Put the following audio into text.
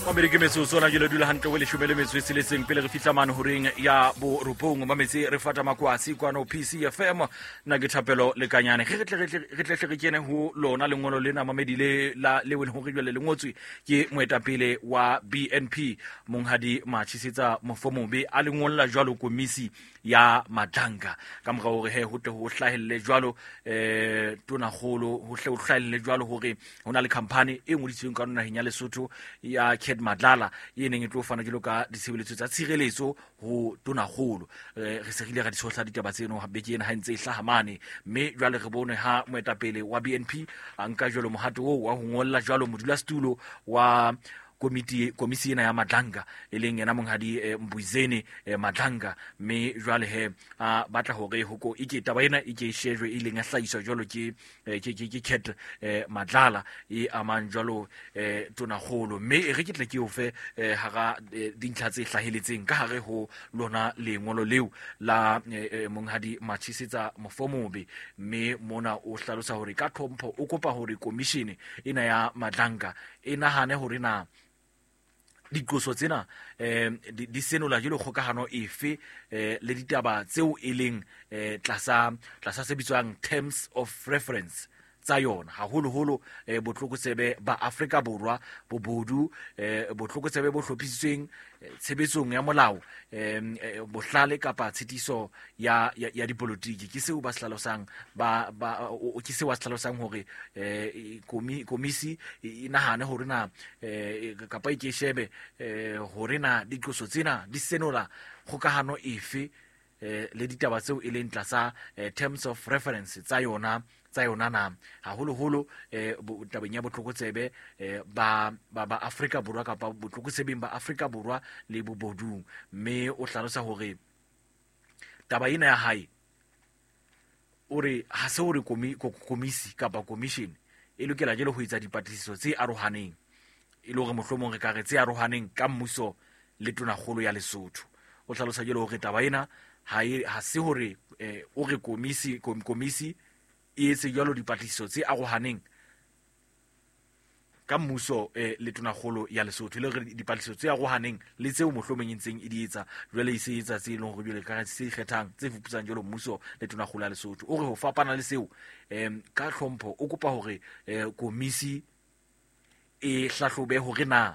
Mamedi, ke metsotso ona jele dula hantle ho 16 pele re fihla mane horeng ya borobong. Mametse, re fata makwasi kwano PCFM. Nna ke Thapelo Lekanyane. Ge re tle re kene ho lona lengolo lena, mamedi, le la le leng hore jwale le ngotswe ke moetapele wa BNP, Monghadi Matshisetsa Mofomobe, a le ngolla jwalo komisi ya Madlanga ka mora hore he ho tle ho hlahelle jwalo tonakgolo, ho hle ho hlahelle jwalo hore ho na le khampani e ngodisitsweng ka naheng ya Lesotho ya Cat Madlala e neng e tlo fana jwalo ka ditshebeletso tsa tshireletso ho tonakgolo. Re se re ile ra di tshohla ditaba tseno beke ena ha ntse e hlaha mane, mme jwale re bone ha moetapele wa BNP a nka jwalo mohato oo wa ho ngolla jwalo modulasetulo wa komiti, komisi ena ya Madlanga, e leng yena Monghadi Mbuyiseni Madlanga. Mme jwale he a batla hore hoko ike taba ena e ke e shejwe, e leng ya hlahiswa jwalo ke Cat Madlala e amang jwalo tonakgolo. Mme e re ke tle ke o fe hara dintlha tse hlaheletseng ka hare ho lona lengolo leo la Monghadi Matshisetsa Mofomobe. Mme mona o hlalosa hore ka tlhompho o kopa hore komishene ena ya Madlanga e nahane hore na diqoso tsena di senola jalo kgokahano efe le ditaba tseo e leng tlasa se bitswang terms of reference tsa yona, haholoholo botlokotsebe ba Afrika Borwa, bobodu, botlokotsebe bo hlophisitsweng, tshebetsong ya molao, bohlale kapa tshitiso ya dipolotiki. Ke seo ba se hlalosang, ke seo ba se hlalosang hore komisi e nahane hore na kapa e ke shebe hore na diqoso tsena di senola kgokahano efe le ditaba tseo e leng tlasa terms of reference tsa yona na, haholoholo tabeng ya botlokotsebe ba Afrika Borwa kapa botlokotsebeng ba Afrika Borwa le bobodung. Mme o hlalosa hore taba ena ya hae, o re ha se hore komisi kapa commission e lokela jele ho etsa dipatlisiso tse arohaneng, e le hore mohlomong re ka re tse arohaneng ka mmuso le tonakgolo ya Lesotho. O hlalosa jele hore taba ena ha se hore o re komisi e etse jwalo dipatlisiso tse arohaneng ka mmuso le tonakgolo ya Lesotho, e le hore dipatlisiso tse arohaneng le tseo mohlomong e ntseng e di etsa jwale, e se etsa tse e leng hore jwale ka se ikgethang tse fuputsang jwalo mmuso le tonakgolo ya Lesotho. O re ho fapana le seo, ka tlhompho o kopa hore komisi e hlahlobe hore na